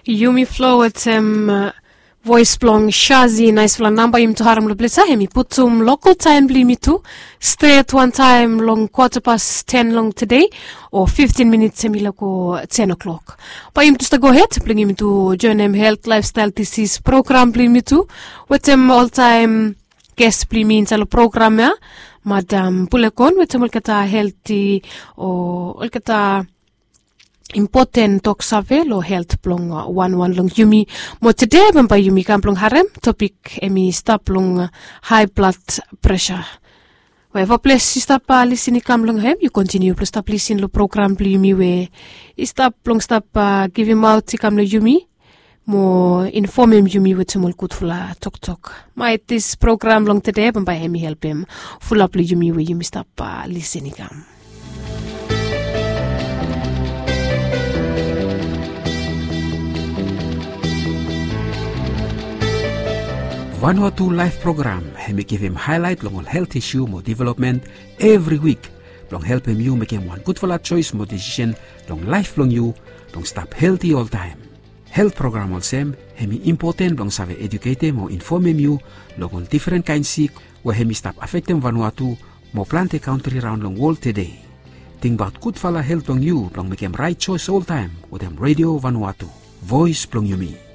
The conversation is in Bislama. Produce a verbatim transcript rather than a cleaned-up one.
Yumi flo wetem voes blong Shazi, naispela namba yumi tu harem long ples ya, hem i putum lokal taem blong yumi tu stret wantaem long kwata pas ten long tede, o fiftin minits hem i lago ten o'clock. Bae yumi tu stap gohed blong yumi tu joenem helt laefstael disis program blong yumi tu wetem oltaem ges blong yumi insaed long program ya, Madam Pulekon, wetem olgeta helti o olgeta impoten toksave long helt blong wanwan long yumi. Mo tede bambae yumi kam blong harem topik hem i stap long hae blad presa. Weva ples yu stap lisin i kam long hem, yu kontiniu blong stap lisin long program blong yumi we i stap blong stap givimaot i kam long yumi mo infomem yumi wetem ol gudfala toktok. Maet dis program long tede bambae hem i helpem fulap long yumi we yumi stap lisin i kam. Vanuatu Laef Program hem i givim haelaet long ol helt isu mo developmen evri wik blong helpem yu mekem wan gudfala joes mo desisen long laef blong yu blong stap helti oltaem. Helt program olsem hem i impoten blong save eduketem o infomem yu long ol difren kaen sik we hem i stap afektem Vanuatu mo plante kantri raon long wol tede. Tingbaot gudfala helt blong yu blong mekem raet joes oltaem wetem Redio Vanuatu, voes blong yumi.